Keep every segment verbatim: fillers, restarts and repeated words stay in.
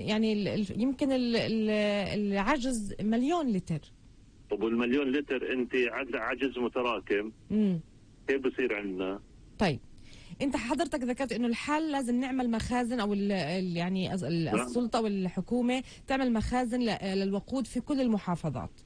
يعني ال ال يمكن ال ال العجز مليون لتر. طب والمليون لتر انت عجز متراكم، امم كيف بصير عندنا؟ طيب انت حضرتك ذكرت انه الحل لازم نعمل مخازن، او ال ال يعني السلطه والحكومه تعمل مخازن للوقود في كل المحافظات.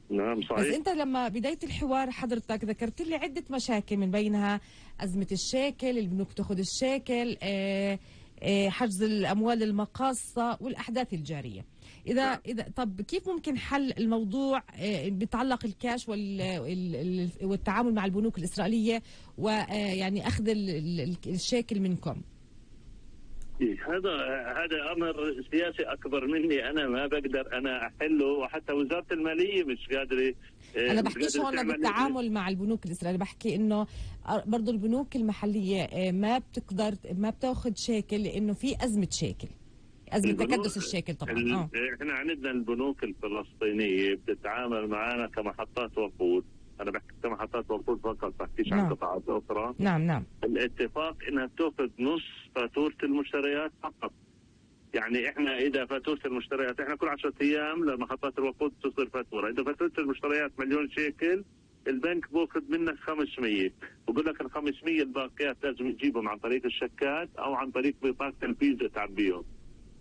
نعم صحيح. بس انت لما بدايه الحوار حضرتك ذكرت لي عده مشاكل، من بينها ازمه الشيكل، البنوك تاخذ الشيكل، اه اه حجز الاموال المقاصه والاحداث الجاريه. اذا نعم. اذا طب كيف ممكن حل الموضوع اه بيتعلق الكاش وال والتعامل مع البنوك الاسرائيليه، ويعني اخذ الشيكل منكم؟ هذا هذا امر سياسي اكبر مني، انا ما بقدر انا احله، وحتى وزاره الماليه مش قادره. انا بحكيش هون بالتعامل مع البنوك الاسرائيليه، بحكي انه برضه البنوك المحليه ما بتقدر ما بتاخذ شيكل لانه في ازمه شيكل، ازمه تكدس الشيكل طبعا. اه احنا عندنا البنوك الفلسطينيه بتتعامل معنا كمحطات وقود، انا بحكي كمحطات وقود فقط، بحكيش عن قطاعات اخرى. نعم نعم. الاتفاق انها بتاخذ نص فاتوره المشتريات فقط. يعني احنا اذا فاتوره المشتريات، احنا كل عشرة ايام لمحطات الوقود تصدر فاتوره، اذا فاتوره المشتريات مليون شيكل البنك باخذ منك خمسمية، بقول لك ال خمسمية الباقيات لازم تجيبهم عن طريق الشكات او عن طريق بطاقه الفيزا تعبيهم.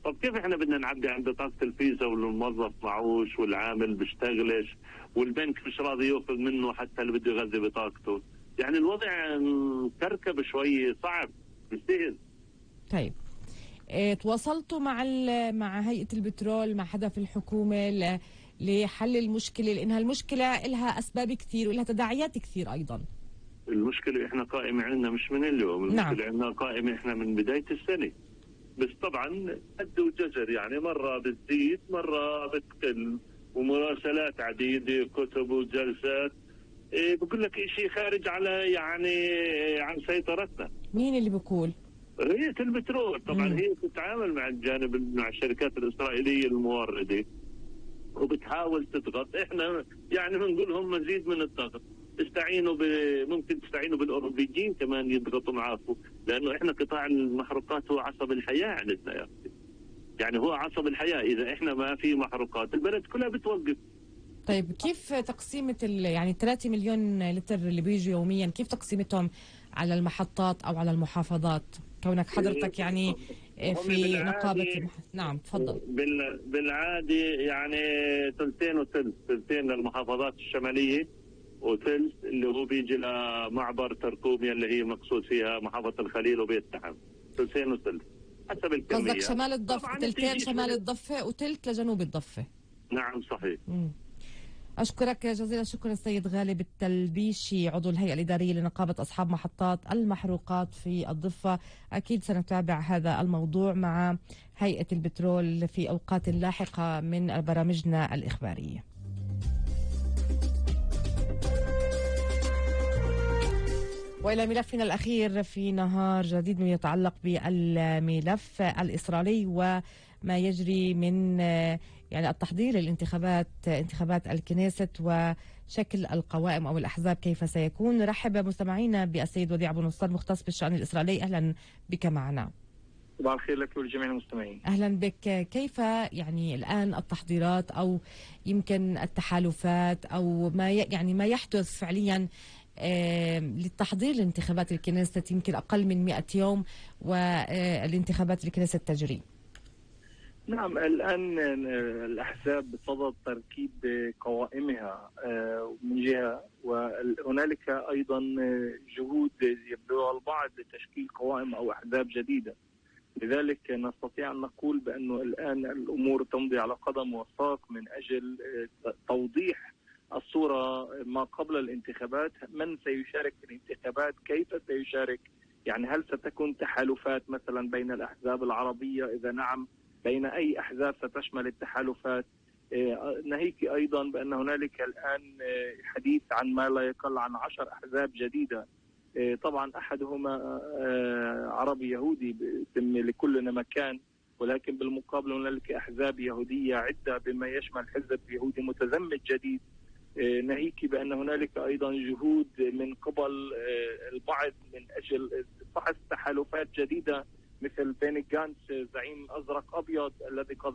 طب كيف احنا بدنا نعبي عند بطاقه الفيزا والموظف معوش والعامل بيشتغلش والبنك مش راضي ياخذ منه حتى اللي بده يغذي بطاقته؟ يعني الوضع مكركب شوي، صعب مش سهل. طيب اه تواصلتوا مع مع هيئه البترول، مع حدا في الحكومه لحل المشكله؟ لانها المشكله لها اسباب كثير ولها تداعيات كثير ايضا. المشكله احنا قائمه عندنا مش من اليوم، المشكله نعم. عندنا قائمه احنا من بدايه السنه، بس طبعا قد وجزر، يعني مره بتزيد مره بتقل، ومراسلات عديده، كتب وجلسات. إيه بقول لك شيء خارج على يعني عن سيطرتنا. مين اللي بيقول؟ هيئة البترول طبعا. مم. هي تتعامل مع الجانب مع الشركات الإسرائيلية الموردة وبتحاول تضغط، احنا يعني بنقول لهم مزيد من الضغط، استعينوا ب... ممكن تستعينوا بالاوروبيين كمان يضغطوا معاكم، لانه احنا قطاع المحروقات هو عصب الحياه عندنا يا اخي. يعني هو عصب الحياه، اذا احنا ما في محروقات البلد كلها بتوقف. طيب كيف تقسيمه يعني ثلاثة مليون لتر اللي بيجوا يوميا، كيف تقسيمتهم على المحطات او على المحافظات، كونك حضرتك يعني في نقابه المح... نعم تفضل. بال... بالعاده يعني ثلثين وثلث، ثلثين للمحافظات الشماليه وثلث اللي هو بيجي لمعبر تركوميا اللي هي مقصود فيها محافظه الخليل وبيت تحم، ثلثين وثلث حسب الكميه. قصدك شمال الضفه، ثلثين شمال الضفه وثلث لجنوب الضفه. نعم صحيح. مم. أشكرك جزيل الشكر السيد غالب التلبيشي، عضو الهيئة الإدارية لنقابة أصحاب محطات المحروقات في الضفة. أكيد سنتابع هذا الموضوع مع هيئة البترول في أوقات لاحقة من برامجنا الإخبارية. وإلى ملفنا الأخير في نهار جديد يتعلق بالملف الإسرائيلي وما يجري من يعني التحضير للانتخابات، انتخابات الكنيست وشكل القوائم أو الأحزاب كيف سيكون. نرحب مستمعينا بالسيد وديع أبو نصار مختص بالشأن الإسرائيلي، أهلا بك معنا. صباح الخير لك ولجميع المستمعين. أهلا بك. كيف يعني الآن التحضيرات أو يمكن التحالفات أو ما يعني ما يحدث فعليا آه للتحضير لانتخابات الكنيسة؟ يمكن أقل من مئة يوم والانتخابات الكنيسة تجري. نعم الآن الأحزاب بصدد تركيب قوائمها من جهة، وهنالك أيضا جهود يبذلها البعض لتشكيل قوائم أو أحزاب جديدة. لذلك نستطيع أن نقول بأنه الآن الأمور تمضي على قدم وساق من أجل توضيح الصورة ما قبل الانتخابات، من سيشارك في الانتخابات، كيف سيشارك، يعني هل ستكون تحالفات مثلا بين الأحزاب العربية؟ إذا نعم بين أي أحزاب ستشمل التحالفات؟ ناهيك أيضا بأن هنالك الآن حديث عن ما لا يقل عن عشر أحزاب جديدة، طبعا أحدهما عربي يهودي باسم لكلنا مكان، ولكن بالمقابل هنالك أحزاب يهودية عدة بما يشمل حزب يهودي متزمت جديد. ناهيك بأن هنالك أيضا جهود من قبل البعض من أجل فحص تحالفات جديدة مثل بيني جانتس زعيم أزرق أبيض الذي قد